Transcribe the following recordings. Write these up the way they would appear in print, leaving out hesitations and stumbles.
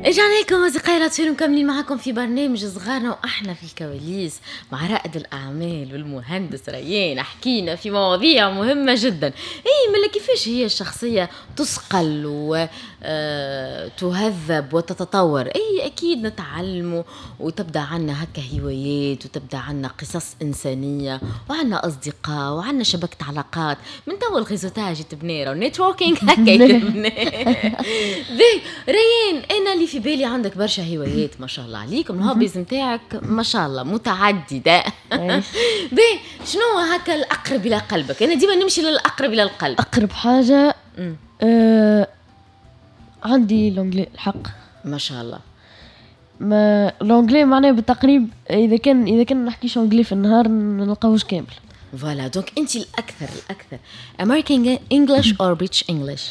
رجعنا لكم اصدقائي الاطفال ومكملين معكم في برنامج صغارنا، واحنا في الكواليس مع رائد الاعمال والمهندس ريان. حكينا في مواضيع مهمة جدا. اي ملا كيفاش هي الشخصية تصقل وتهذب وتتطور؟ اي اكيد نتعلموا وتبدا عنا هكا هوايات، وتبدا عنا قصص انسانيه، وعنا اصدقاء، وعنا شبكة علاقات. من تو ال réseautage يتبنى، ال networking هكا يتبنى. ريان، انا اللي في بالي عندك برشا هوايات ما شاء الله عليكم، ال hobbies نتاعك ما شاء الله متعدده. باهي، شنو هكا الاقرب الى قلبك؟ انا ديما نمشي للاقرب الى القلب. اقرب حاجة عندي l'anglais الحق. ما شاء الله. ما l'anglais معناه بالتقريب اذا كان نحكيش anglais في النهار نلقاوش كامل. voilà، donc انت الاكثر American English or British English؟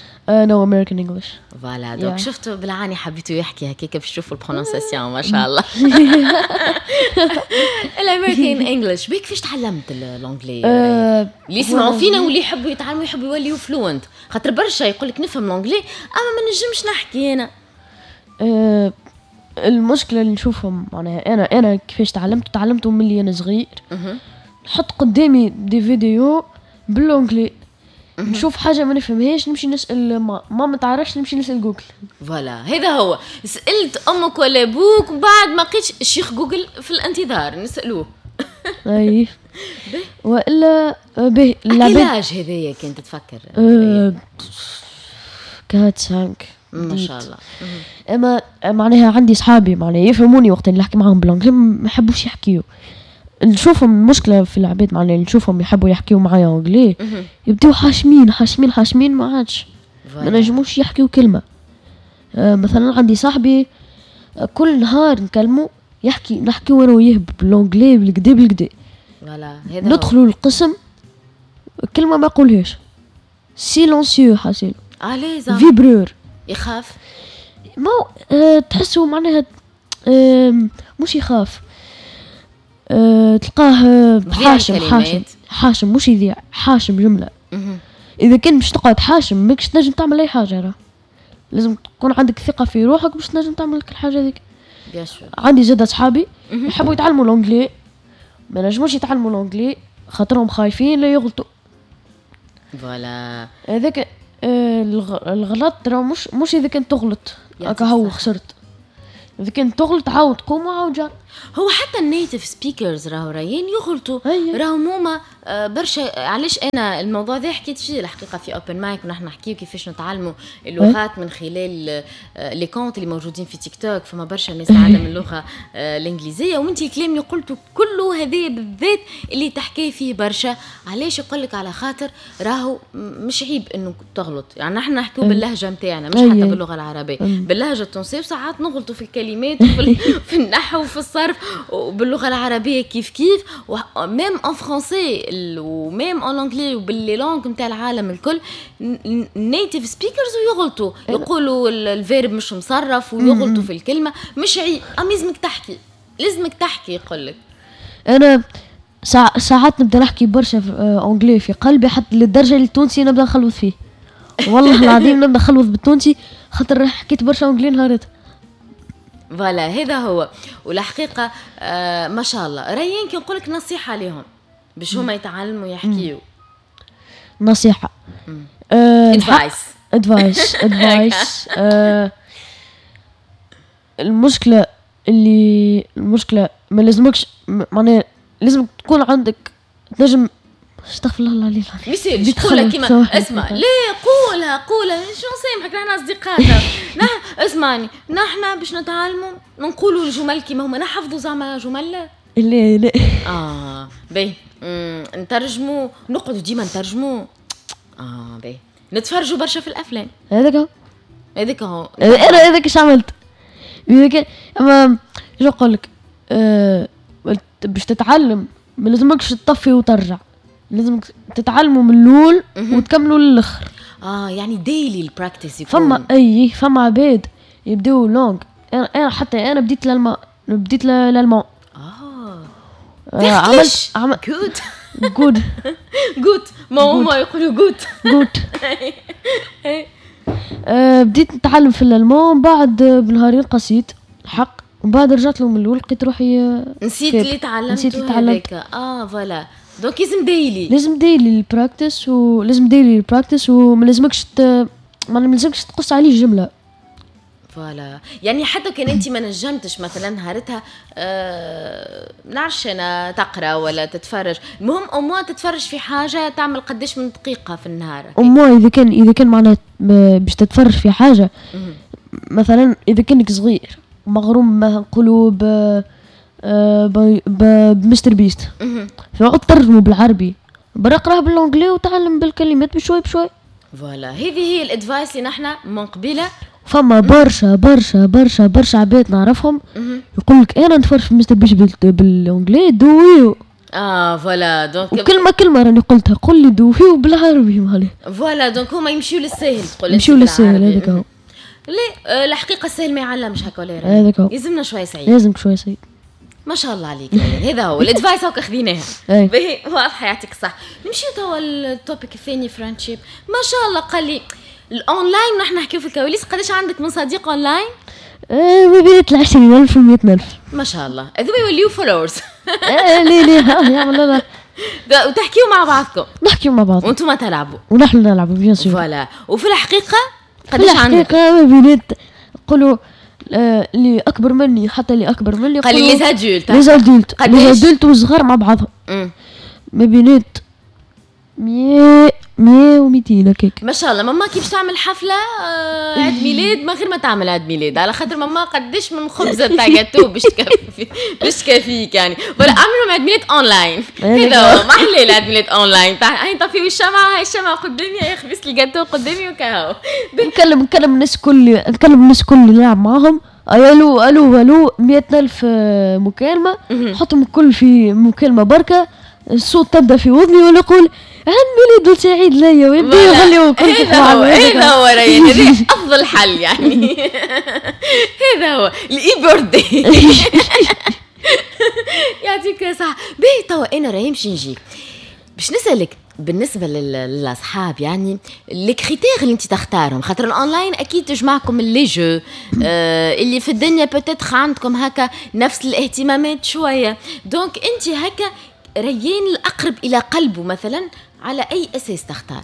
no، American English. voilà، donc شفتوا بالعاني حبيتوا يحكي هكاك باش تشوفوا ال prononciation، ما شاء الله ال American English. بيك كيفاش تعلمت l'anglais؟ اللي يسمعوا فينا واللي يحبوا يتعلموا، يحبوا يوليوا fluent، خاطر برشا يقول لك نفهم l'anglais اما ما نجمش نحكي انا. المشكلة اللي نشوفهم معناها انا كيفاش تعلمت، تعلمته من اللي انا صغير. نحط قدامي des vidéos بال anglais، نشوف حاجة ما نفهمهاش نمشي نسال ما تعرفش، نمشي نسال جوجل. voilà، هذا هو، سالت امك ولا ابوك وبعد ما لقيتش، الشيخ جوجل في الانتظار نسالوه. اي، والا به العباد هذايا كنت تفكر؟ 4 5. ما شاء الله. اما معناها عندي صحابي معناها يفهموني وقت اللي نحكي معاهم بال anglais، ما يحبوش يحكيو. نشوفهم، المشكلة في العباد معناها نشوفهم يحبوا يحكيو معايا anglais يبداو حاشمين حاشمين حاشمين، ما عادش ما نجموش يحكيو كلمه. مثلا عندي صاحبي كل نهار نكلمو يحكي، نحكيو انا وياه بال anglais بالقدا بالقدا. voilà، هذا ندخلوا القسم كلمة ما يقولهاش، silencieux حاسيلو. علاش؟ vibreur. يخاف؟ ما تحسوا معناها مش يخاف، تلقاه حاشم حاشم حاشم، مش يذيع، حاشم جمله. اذا كان باش تقعد حاشم ماكش تنجم تعمل اي حاجه، راه لازم تكون عندك ثقة في روحك باش تنجم تعمل لك الحاجة هذيك. عندي زاد اصحابي يحبوا يتعلموا l'anglais، ما نجموش يتعلموا l'anglais خاطرهم خايفين لا يغلطوا. voilà. هذاك الغلط راه مش اذا كنت تغلط هكا هو خسرت، اذا كنت تغلط عاود قوم وعاود جرب. هو حتى ال native speakers راهو رايين يغلطوا، راهو هما برشا. علاش انا الموضوع ذا حكيت فيه الحقيقة في open mic، ونحن نحكيو كيفاش نتعلموا اللغات من خلال les comptes اللي موجودين في تيك توك. فما برشا ناس تعلم اللغة الانجليزيه، وانت الكلام اللي قلته كله هذا بالذات اللي تحكي فيه برشا. علاش؟ يقول لك على خاطر راهو مش عيب انه تغلط، يعني نحن نحكيو باللهجة نتاعنا، مش حتى باللغة العربيه، باللهجة التونسيه، وساعات نغلطوا في الكلمات وفي في النحو وفي الصرف، وباللغه العربية كيف كيف، même en français و même en anglais وبال les langues نتاع العالم الكل، native speakers ويغلطوا، يقولوا ال verbe مش مصرف ويغلطوا في الكلمه. مش عيب، اما لازمك تحكي، لازمك تحكي يقول لك. انا ساعات نبدا نحكي برشا في anglais في قلبي، حتى للدرجة اللي التونسي نبدا نخلوط فيه، والله العظيم نبدا نخلوط بالتونسي خاطر حكيت برشا anglais نهارتها. voilà، هذا هو. والحقيقة ما شاء الله ريان، كي نقول لك نصيحة لهم باش هما يتعلموا يحكيوا؟ نصيحه؟ advice. advice، advice. المشكلة اللي المشكلة ما لازمكش معناها لازم تكون عندك تنجم، استغفر الله العلي العظيم. ميسالش، قولها كيما، اسمع، ليه، قولها قولها، شو نسامحك، نحن اصدقاء. نحن، اسمعني، نحن باش نتعلموا نقولوا الجمل كيما هما، نحفظوا زعما جمل؟ لا لا. اه باهي، نترجموا، نقعدوا ديما نترجموا. باهي، نتفرجوا برشا في الافلام. هذاك هو. هذاك هو. انا هذاك اش عملت. اما شو نقول لك، باش تتعلم ما لازمكش تطفي وترجع، لازم تتعلموا من الاول وتكملوا للاخر. اه، يعني daily ال practice يكون. فما، اي، فما عباد يبداو langue، انا حتى انا بديت l'allemand، بديت l'allemand. عملت gut. gut. gut، ما هما يقولوا gut. gut. بديت نتعلم في الالمان، بعد بنهارين قصيت الحق، ومن بعد رجعت له من الاول لقيت روحي نسيت اللي تعلمته. نسيت اللي تعلمت. Voilà، donc لازم daily، لازم daily ال practice، ولازم daily ال practice، وما لازمكش ما لازمكش تقص عليه جمله. Voilà، يعني حتى كان انت ما نجمتش مثلا نهارتها نعرفش انا تقرا ولا تتفرج، المهم au moins تتفرج في حاجه، تعمل قداش من دقيقة في النهار. au moins اذا كان معناها باش تتفرج في حاجه، مثلا اذا كانك صغير مغروم مثلا نقولوا ب MrBeast، فعود ترجمه بالعربي، برا اقراه بال anglais وتعلم بالكلمات بشوي بشوي. Voilà، هذه هي ال advice اللي نحن من قبيله. فما برشا برشا برشا برشا عباد نعرفهم يقول لك انا نتفرج في MrBeast بال anglais دويو. Voilà، donc وكلمه كلمة راني قلتها، قل لي دويو بالعربي مالي. Voilà، donc هما يمشيو للسهل. تقول يمشيو للسهل، هذاك هو. لا، الحقيقة السهل ما يعلمش هكا ولا؟ هذاك هو. يلزمنا شوية صعيب. لازم شوية صعيب. ما شاء الله عليك، هذا هو ال advice هاك خذيناها. باهي، واضحه، يعطيك الصح. نمشيو توا ال topic الثاني، friendship. ما شاء الله، قال لي الاونلاين، نحن نحكيو في الكواليس، قداش عندك من صديق اونلاين؟ ما بين 20,000 و 100,000. ما شاء الله، هذوما يوليو followers. ايه، ليه ليه يعمل. وتحكيو مع بعضكم؟ نحكيو مع بعض. وانتم تلعبوا. ونحن نلعبوا، bien sûr. Voilà، وفي الحقيقة قداش عندك؟ الحقيقة ما بينات نقولوا اللي اكبر مني، حتى اللي اكبر مني. قال لي les adultes. les adultes، les adultes وصغار مع بعضهم، ما بينات 100، 100 و200 هكاك. ما شاء الله. ماما كي باش تعمل حفلة عيد ميلاد، ما غير ما تعمل عيد ميلاد، على خاطر ماما قداش من خبزه تاع جاتو باش تكفيك يعني. ولا اعملوا عيد ميلاد اونلاين. هذا هو، ما احلى العيد ميلاد اونلاين. هاي طفيو الشمعه، هاي الشمعة قدامي، هاي خبزه الجاتو قدامي وكاهو. نكلم الناس الكل، نكلم الناس الكل اللي نلعب معاهم، الو الو الو، 100,000 مكالمة، حطهم الكل في مكالمة بركة، الصوت تبدا في وذني ولا يقول عيد ميلاد سعيد ليا ويبدا يغني وكل. هذا هو، هذا هو ريان، هذا افضل حل يعني، هذا هو ال e-birthday. يعطيك صح. باهي، توا انا ريان باش نجيك باش نسالك بالنسبة للاصحاب، يعني les critères اللي انت تختارهم، خاطر الاونلاين اكيد تجمعكم les jeux اللي في الدنيا، peut-être عندكم هكا نفس الاهتمامات شويه، donc انت هكا ريان الاقرب الى قلبه مثلا، على اي اساس تختار؟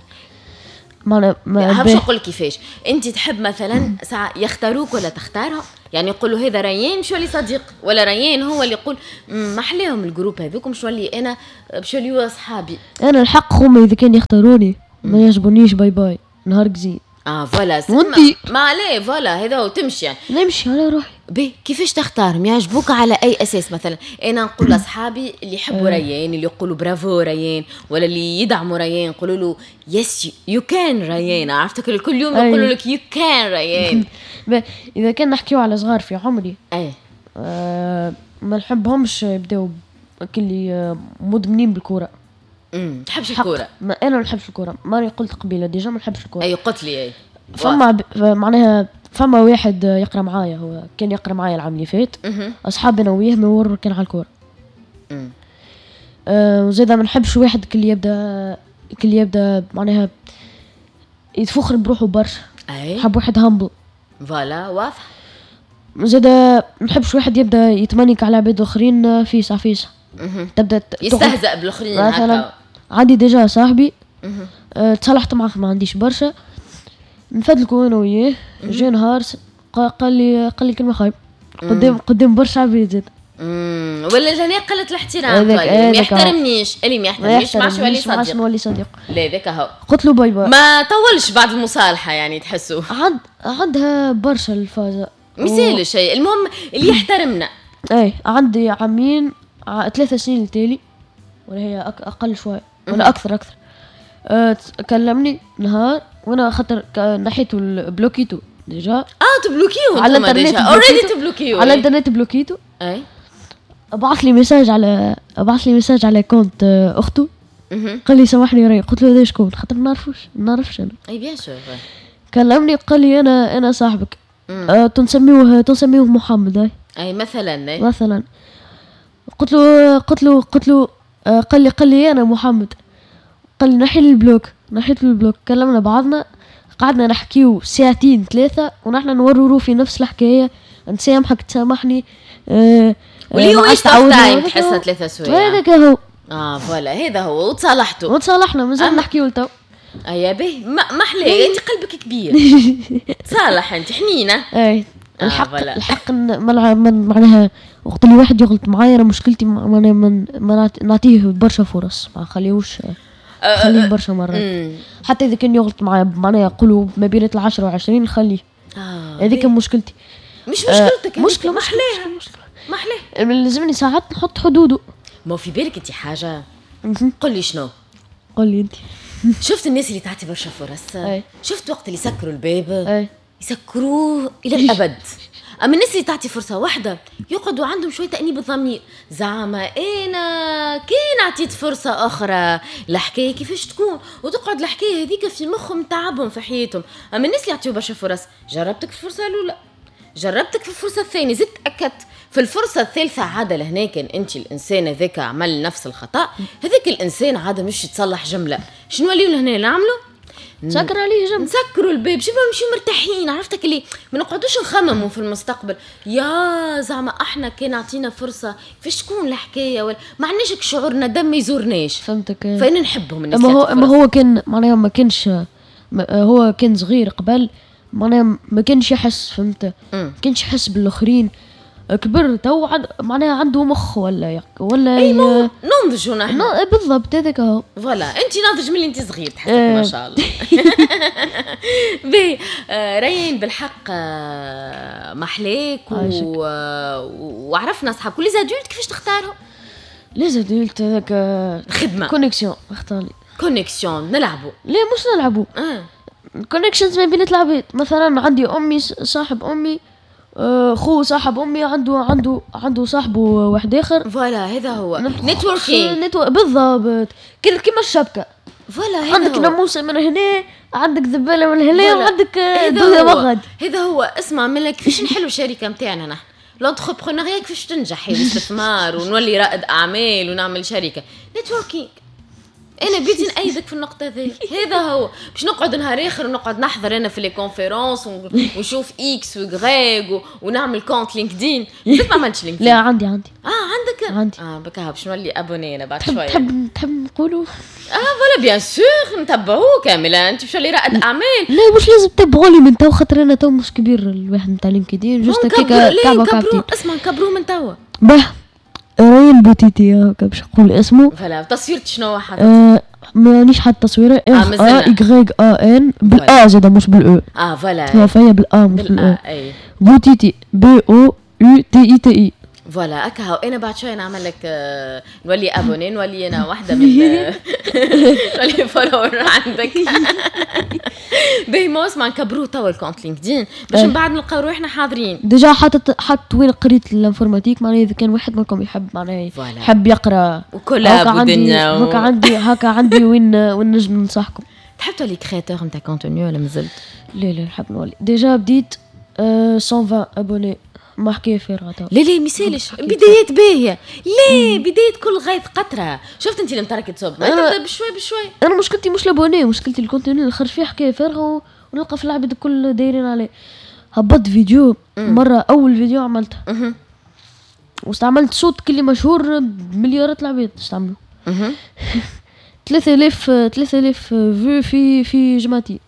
ما باش نقول كيفاش انت تحب مثلا ساعة يختاروك ولا تختارهم، يعني يقولوا هذا ريان مش ولي صديق، ولا ريان هو اللي يقول ما احلاهم ال groupe هذوك، مش ولي انا باش يوليو اصحابي؟ انا الحق هما اذا كان يختاروني، ما يعجبونيش bye bye، نهارك زين. Voilà. وانتي؟ ما عليه، voilà، هذا هو، تمشي يعني. نمشي على روحي. بي كيفاش تختارهم؟ يعجبوك على اي اساس؟ مثلا انا نقول لاصحابي اللي يحبوا ريان، اللي يقولوا برافو ريان، ولا اللي يدعموا ريان، يقولوا له yes you can ريان، عرفتك كل يوم يقولوا لك you can ريان. اذا كان نحكيو على صغار في عمري، ما نحبهمش يبداو كلي مدمنين بالكوره. تحبش الكوره؟ ما انا ما نحبش الكوره، ماني قلت قبيلة déjà ما نحبش الكوره. اي، قلت لي، اي. فما معناها فما واحد يقرا معايا، هو كان يقرا معايا العام اللي فات، اصحابنا انا وياه ما كان على الكوره. وزيدا ما نحبش واحد كل يبدا معناها يتفخر بروحه برشا. نحب واحد humble. Voilà، واضح. زادا ما نحبش واحد يبدا يتمنيك على عباد اخرين فيسع فيسع. تبدا يستهزأ بالاخرين. مثلا عندي déjà صاحبي تصالحت معاه ما عنديش برشا، نفدلكو انا وياه، جا نهار قال لي كلمة خايب قدام برشا عباد زاد. ولا جاني قلة الاحترام، ما يحترمنيش، اللي ما يحترمنيش ما عادش يولي صديق. ما عادش نولي صديق. لا، ذاك هو. قلت له bye bye. ما طولش بعد المصالحة يعني تحسوا؟ عندها برشا الفازة. مثال شيء، المهم اللي يحترمنا. اي، عندي عامين، 3 سنين التالي، ولا هي اقل شوي ولا اكثر اكثر، كلمني نهار وانا خاطر نحيتو بلوكيتو déjà. تبلوكيو؟ على الانترنت. Already تبلوكيو. على الانترنت بلوكيتو. بعث لي message على compte اخته، قال لي سامحني ري. قلت له هذا شكون؟ خاطر ما نعرفوش، ما نعرفش انا. اي، bien sûr. كلمني قال لي انا صاحبك، تنسميوه محمد، اي. اي، مثلا، اي. مثلا قلت له قال لي انا محمد، قال لي نحي ال bloc، نحيت ال bloc. كلمنا بعضنا، قعدنا نحكيو ساعتين ثلاثة ونحن نورورو في نفس الحكاية، نسامحك تسامحني. واللي هو waste of time تحسها 3 سوايع. هذاك هو. اه voilà، هذا هو، وتصالحتوا. وتصالحنا، مازال نحكيو لتو. ايا باهي، ما احلاه، انت قلبك كبير، تصالح، انت حنينه. اي الحق آه الحق معناها وقت اللي واحد يغلط معايا، انا مشكلتي معناها من نعطيه برشا فرص، ما نخليهوش، خليه برشا مرات. حتى اذا كان يغلط معايا، معناها يقولوا ما بين 10 و20 نخليه. هذيك مشكلتي. مش مشكلتك. آه مشكلة. محلاها. مشكلة. محلاه. لازمني ساعات نحط حدوده. ما في بالك انت حاجه؟ قل لي شنو. قل لي انت. شفت الناس اللي تعطي برشا فرص؟ أي. شفت وقت اللي يسكروا الباب؟ أي. يسكروه الى الابد. اما الناس اللي تعطي فرصة واحدة يقعدوا عندهم شوية تانيب الضمير، زعما انا كان عطيت فرصة اخرى الحكاية كيفاش تكون؟ وتقعد الحكاية هذيك في مخهم تعبهم في حياتهم. اما الناس اللي يعطيو برشا فرص، جربتك في الفرصة الاولى، جربتك في الفرصة الثانيه، زدت اكدت في الفرصة الثالثه، عاد لهنا كان انت الانسان هذاك عمل نفس الخطا، هذاك الانسان عاد مش يتصلح جمله. شنو نوليو لهنا نعملوا؟ نسكر عليه جنب. نسكروا الباب، شوف نمشيو مرتاحين، عرفتك اللي ما نقعدوش نخمموا في المستقبل، يا زعما احنا كان عطينا فرصة كيفاش تكون الحكايه، ولا ما عندناش شعور ندم، ما يزورناش. فهمتك. فانا نحبهم الناس. اما هو كان معناها ما كانش، هو كان صغير قبل، معناها ما كانش يحس، فهمت؟ ما كانش يحس بالاخرين. كبر تو معناها عنده مخ ولا اي ننضجوا نحن. بالضبط، هذاك هو. voilà، انت ناضج من اللي انت صغير تحسك. ما شاء الله. باهي ريان، بالحق محلاك وعرفنا اصحاب. les adultes كيفاش تختارهم؟ les adultes هذاك خدمه. connexion، اختاري. connexion، نلعبوا. ليه مش نلعبوا connections ما بين العباد. مثلا عندي امي، صاحب امي، خو صاحب امي عنده صاحبه واحد اخر. voilà، هذا هو networking. بالضبط، كيما الشبكه. voilà، هذا عندك ناموسه من هنا، عندك ذبانه من هنا، وعندك دوده مغد. هذا هو. اسمع منك، كيفاش نحلوا الشركة نتاعنا نحن؟ l'entrepreneuriat كيفاش تنجح، الاستثمار ونولي رائد اعمال ونعمل شركه؟ networking. انا بيدي نأيدك في النقطة ذي. هذا هو، باش نقعد نهار اخر ونقعد نحضر انا في les conférences ونشوف X و Y ونعمل compte LinkedIn. ما عملتش LinkedIn. لا، عندي عندي. اه عندك. عندي. اه بكا باش نولي abonnée انا بعد شويه. تحب نقولوا؟ اه voilà، bien sûr، نتبعوه كاملة، انت باش تولي رائد اعمال. لا، مش لازم تتبعوني من تو، خاطر انا تو مش كبير الواحد نتاع LinkedIn، juste هكاك كعبه كعبتين. اسمع، نكبروه من توا. باه، ريان بوتيتي، هكا باش نقول اسمه. voilà، تصويرة شنو حاطط؟ مانيش حاط تصويره. R A Y A N، بال A زاد مش بال E. اه voilà. فهي بال A مش بال E. بوتيتي، B O U T I T I. voilà، هكا هو. انا بعد شوية نعمل لك نولي abonnée، نولي انا واحدة من نولي follower عندك. باهي، ما اسمع، نكبروه توا ال compte LinkedIn باش من بعد نلقاو روحنا حاضرين. déjà حاطط، حط وين قريت l'informatique، معناها اذا كان واحد منكم يحب، معناها يحب يقرا و collab ودنيا. هكا عندي وين نجم ننصحكم. تحب تولي créateur نتاع contenu ولا مازلت؟ لا لا، نحب نولي. déjà بديت، 120 abonnés، ما حكاية فارغة. لا لا، ميسالش، بدايات باهيه. ليه؟ بداية كل غيث قطره. شفت انت المطرة كي تصب تبدا بشوي بشوي. انا مشكلتي مش l'abonnés، مشكلتي ال contenu اللي خرج فيه حكاية فارغة ونلقى في العباد الكل دايرين عليه. هبطت فيديو مره، اول فيديو عملتها واستعملت صوت كلي مشهور، مليارات العباد استعملوا، 3000 3000 vues في جمعتين.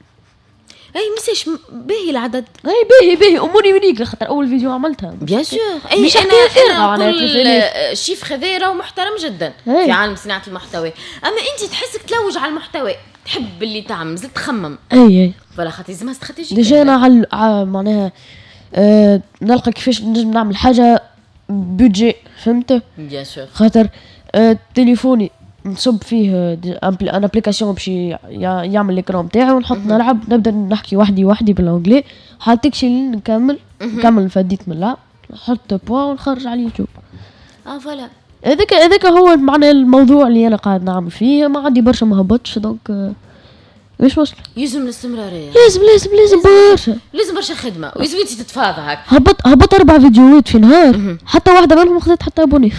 اي ميساش، باهي العدد. اي باهي باهي، اموري unique خاطر اول فيديو عملتها. bien sûr، اي انا نقول ال chiffre هذا راهو محترم جدا أي. في عالم صناعة المحتوى. اما انت تحسك تلوج على المحتوى، تحب اللي تعمل، زدت تخمم. اي اي. voilà، خاطر لازمها stratégie. déjà انا على معناها نلقى كيفاش نجم نعمل حاجة budget، فهمت؟ bien sûr. خاطر تليفوني نصب فيه une application باش يعمل l'écran تاعي ونحط نلعب، نبدا نحكي وحدي وحدي بال anglais حتى شي نكمل فديت من اللعب، نحط point ونخرج على اليوتيوب. اه voilà. هذاك هو معنى الموضوع اللي انا قاعد نعمل فيه. ما عندي برشا ما هبطش، donc مش مشكلة. يلزم الاستمرارية. لازم لازم لازم برشا. لازم برشا خدمة ويلزم انت تتفاضى هكا. هبط اربع فيديوهات في نهار، حتى واحدة منهم خذت حتى abonné.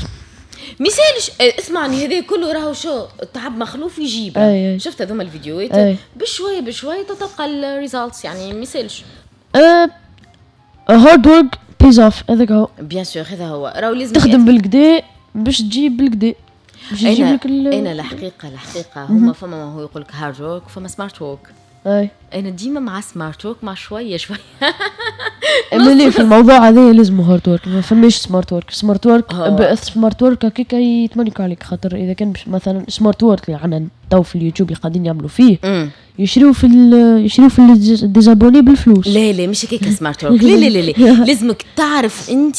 ميسالش اسمعني، هذا كله راهو شو التعب مخلوف يجيب. شفت هذوما الفيديوهات بشوية بشوية تلقى ال results، يعني ميسالش. hard work pays off، هذاك هو. bien sûr هذا هو، راهو لازم تخدم بالكدا باش تجيب بالكدا. انا الحقيقة هما فما ما هو يقول لك hard work فما smart work. اي انا ديما مع smart work، مع شوية شوية. اما في الموضوع هذا لازم hard work، ما فماش smart work. smart work smart work هكاك يتمنك عليك، خاطر اذا كان مثلا smart work اللي عندنا تو في اليوتيوب اللي قاعدين يعملوا فيه، يشريو في des abonnés بالفلوس. لا لا مش هكاك smart work، لا لا لا لا، لازمك تعرف انت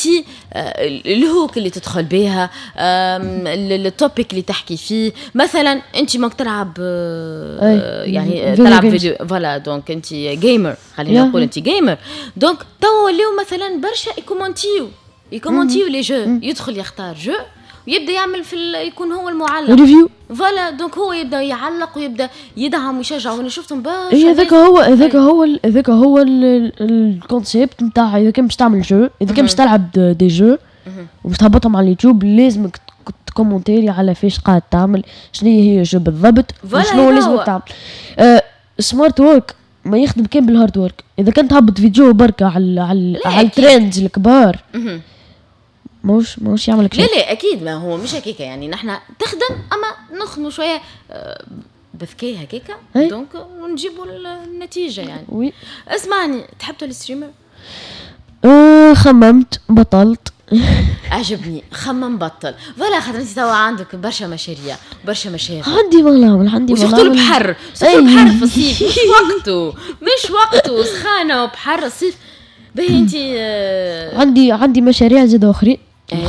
ال hook اللي تدخل بها، ال topic اللي تحكي فيه. مثلا انت ماك تلعب يعني تلعب vidéo، voilà، donc انت gamer، خلينا نقول انت gamer. donc تو ولاو مثلا برشا يكومونتيو les jeux، يدخل يختار jeu ويبدا يعمل في يكون هو المعلق review. voilà، donc هو يبدا يعلق ويبدا يدعم ويشجع، وانا شفتهم برشا. اي هذاك هو ال concept نتاع اذا كان باش تعمل jeu، اذا كان باش تلعب des jeux وباش تهبطهم على اليوتيوب، لازمك تكومونتيري على فاش قاعد تعمل، شنو هي jeu بالضبط وشنو لازمك تعمل. Smart work ما يخدم كان بال hard work. اذا كنت تهبط فيديو بركة على ال trends الكبار، ماهوش يعمل لا لا اكيد، ما هو مش هكاك. يعني نحن تخدم اما نخدموا شوية بذكاء هكاكا، donc ونجيبوا النتيجة يعني. oui. اسمعني، تحب تولي streamer؟ أه، خممت بطلت. عجبني، خمم بطل. voilà، خاطر انت توا عندك برشا مشاريع، برشا مشاغل. عندي ما نعمل، عندي ما نعمل. البحر، surtout البحر في الصيف مش وقته، مش وقته، سخانه وبحر الصيف. باهي انت عندي مشاريع زاد اخرين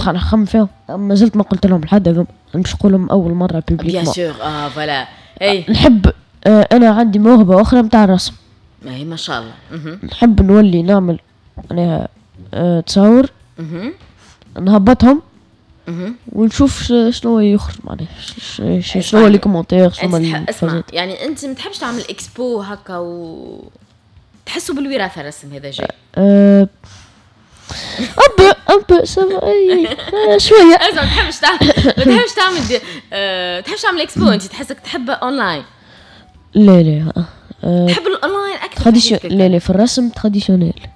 نخمم فيهم، ما زلت ما قلت لهم لحد، هذوم باش نقولهم اول مرة publiquement. bien sûr، voilà، اي نحب انا عندي موهبة اخرى نتاع الرسم. ما هي ما شاء الله. نحب نولي نعمل معناها تصور نهبطهم ونشوف شنو يخرج، معناها شنو les commentaires، شنو. اسمع، يعني انت ما تحبش تعمل اكسبو هكا و تحسوا بالوراثه الرسم هذا جاي؟ un peu un peu شويه. اسمع، ما تحبش تعمل اكسبو، انت تحسك تحب اونلاين؟ لا لا. تحب الاونلاين اكثر؟ لا لا، في الرسم traditionnel.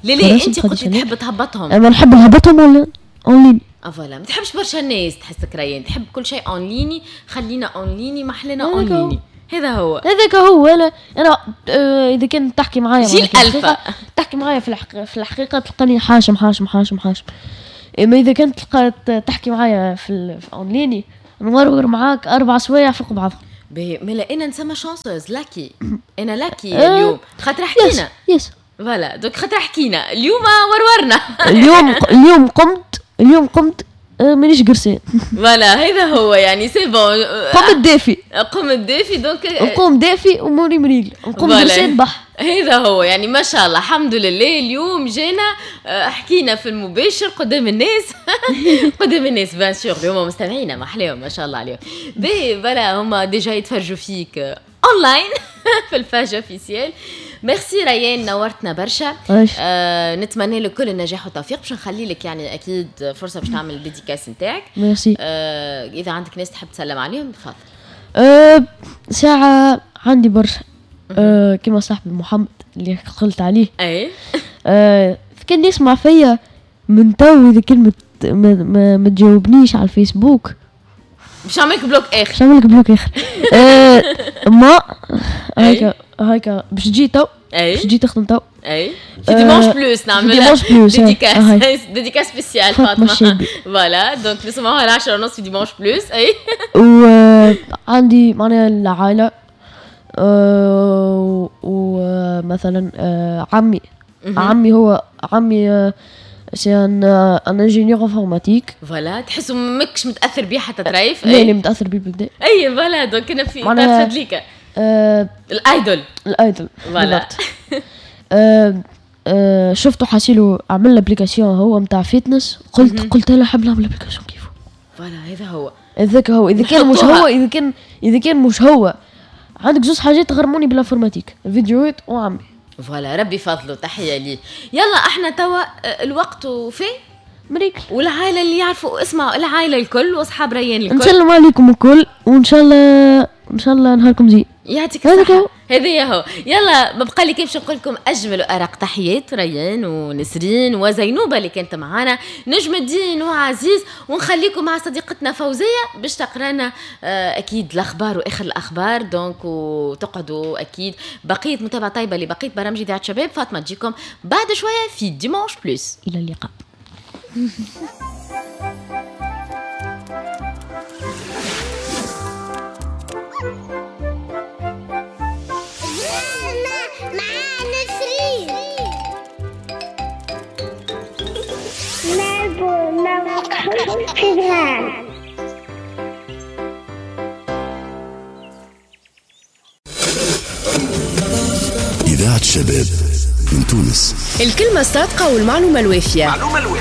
لا لا، انت قلت تحب تهبطهم. انا نحب نهبطهم en ligne. اه voilà، ما تحبش برشا الناس، تحسك ريان تحب كل شيء en ligne. خلينا en ligne، ما حلينا en ligne، هذا هو. هذاك هو. انا اذا كان تحكي معايا جيل الفا. تحكي معايا في الحقيقه تلقاني حاشم حاشم حاشم حاشم، اما اذا كنت تلقى تحكي معايا في en ligne نورور معاك 4 سوايع فوق بعضهم. باهي، مالا انا نسمى chanceuse، lucky، انا lucky اليوم خاطر حكينا. yes. voilà، donc خاطر حكينا اليوم ورورنا. اليوم قمت مانيش قرسان. voilà، هذا هو، يعني c'est bon. قمت دافي. قمت دافي donc. نقوم دافي، اموري مريقل، نقوم قرسان بح. هذا هو، يعني ما شاء الله، الحمد لله، اليوم جينا حكينا في المباشر قدام الناس، قدام الناس bien sûr. اليوم مستمعينا ما احلاهم، ما شاء الله عليهم. باهي، voilà، هما déjà يتفرجوا فيك اونلاين في ال page officielle. merci ريان، نورتنا برشا. نتمنى لك كل النجاح والتوفيق. باش نخلي لك يعني اكيد فرصة باش تعمل ال dédicace نتاعك. ميرسي. اذا عندك ناس تحب تسلم عليهم تفضل. ساعة عندي برشا، كما صاحبي محمد اللي قلت عليه. كان يسمع فيا من تو، اذا كلمة ما تجاوبنيش على الفيسبوك باش نعمل لك bloc اخر. باش نعمل لك bloc اخر. ما هيك هيك باش تجي تو، باش تجي تخدم تو. اي، في Dimanche Plus نعمل Dimanche Plus. dédicace spéciale فاطمه. voilà، donc نسمعوها 10:30 في Dimanche Plus، اي. وعندي معناها العائله، ومثلا عمي، عمي هو عمي c'est un ingénieur informatique. voilà، تحسوا ماكش متاثر بيه حتى ترايف. لا لا، متاثر بيه بالكدا. اي voilà، donc انا في تفضليك ال idole. ال idole. voilà. شفته حاسيلو عمل l'application هو نتاع fitness، قلت انا حاب نعمل application كيفو. voilà، هذا هو. هذاك هو. اذا كان مش هو، اذا كان مش هو، عندك زوج حاجات غرموني بال informatique، الفيديوهات وعمي. voilà، ربي فضله، تحية ليه. يلا احنا توا الوقت وفي. مريكل. والعائلة اللي يعرفوا، اسمعوا العائلة الكل واصحاب ريان الكل. نسلم عليكم الكل، وان شاء الله ان شاء الله نهاركم زين. يعطيك الصحة. هذه هو. يلا ما بقى لي كيفاش نقول لكم اجمل وارق تحيات ريان ونسرين وزينوبه اللي كانت معانا، نجم الدين وعزيز، ونخليكم مع صديقتنا فوزيه باش تقرانا اكيد الاخبار واخر الاخبار. donc وتقعدوا اكيد بقية متابعه طيبة لبقية برامج اذاعة شباب. فاطمة تجيكم بعد شوية في Dimanche Plus. الى اللقاء. إذاعة شباب من تونس. الكلمة الصادقة والمعلومة الوافية،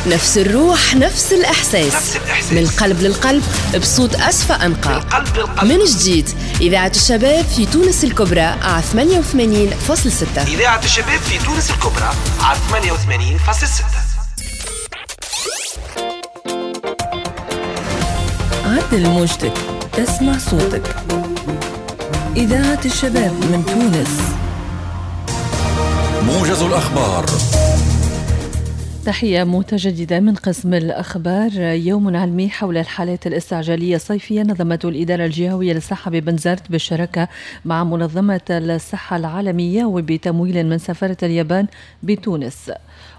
نفس الروح، نفس الإحساس، نفس الإحساس. من القلب للقلب، بصوت أصفى أنقى. من جديد إذاعة الشباب في تونس الكبرى على 88.6. إذاعة الشباب في تونس الكبرى على 88.6. عدل موجتك تسمع صوتك. إذاعة الشباب من تونس. موجز الأخبار. تحية متجددة من قسم الأخبار. يوم علمي حول الحالات الاستعجالية الصيفية نظمته الإدارة الجهوية للصحة ببنزرت بالشراكة مع منظمة الصحة العالمية وبتمويل من سفارة اليابان بتونس.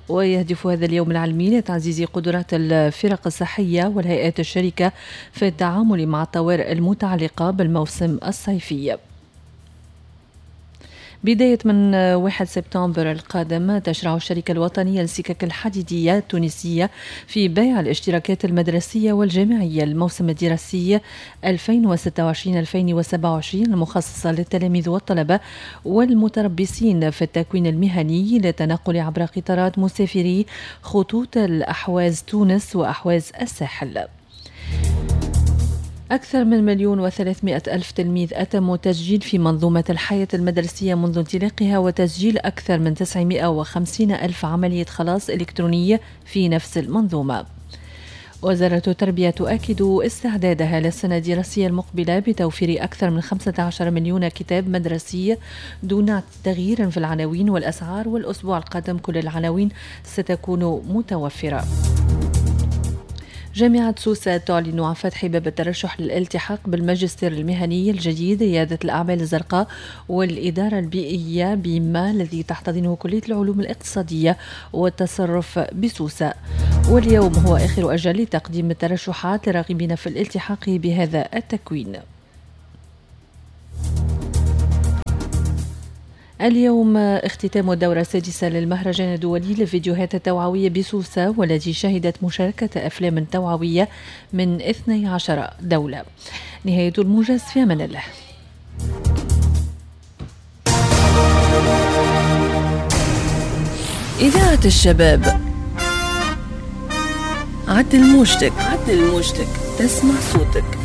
ويهدف هذا اليوم العلمي لتعزيز قدرات الفرق الصحية والهيئات الشريكة في التعامل مع الطوارئ المتعلقة بالموسم الصيفي. بداية من 1 سبتمبر القادم تشرع الشركة الوطنية للسكك الحديدية التونسية في بيع الاشتراكات المدرسية والجامعية الموسم الدراسي 2026-2027 المخصصة للتلاميذ والطلبة والمتربصين في التكوين المهني للتنقل عبر قطارات مسافري خطوط الأحواز تونس وأحواز الساحل. أكثر من 1,300,000 تلميذ أتموا تسجيل في منظومة الحياة المدرسية منذ انطلاقها، وتسجيل أكثر من 950,000 عملية خلاص إلكترونية في نفس المنظومة. وزارة التربية تؤكد استعدادها للسنة الدراسية المقبلة بتوفير أكثر من 15 مليون كتاب مدرسي دون تغيير في العناوين والأسعار، والأسبوع القادم كل العناوين ستكون متوفرة. جامعة سوسة تعلن عن فتح باب الترشح للالتحاق بالماجستير المهني الجديد ريادة الأعمال الزرقاء والإدارة البيئية بما الذي تحتضنه كلية العلوم الاقتصادية والتصرف بسوسة. واليوم هو آخر أجل لتقديم الترشحات للراغبين في الالتحاق بهذا التكوين. اليوم اختتام الدورة السادسة للمهرجان الدولي للفيديوهات التوعوية بسوسة، والتي شهدت مشاركة أفلام توعوية من 12 دولة. نهاية الموجز، في أمان الله. إذاعة الشباب، عدل موجتك، عدل موجتك، تسمع صوتك.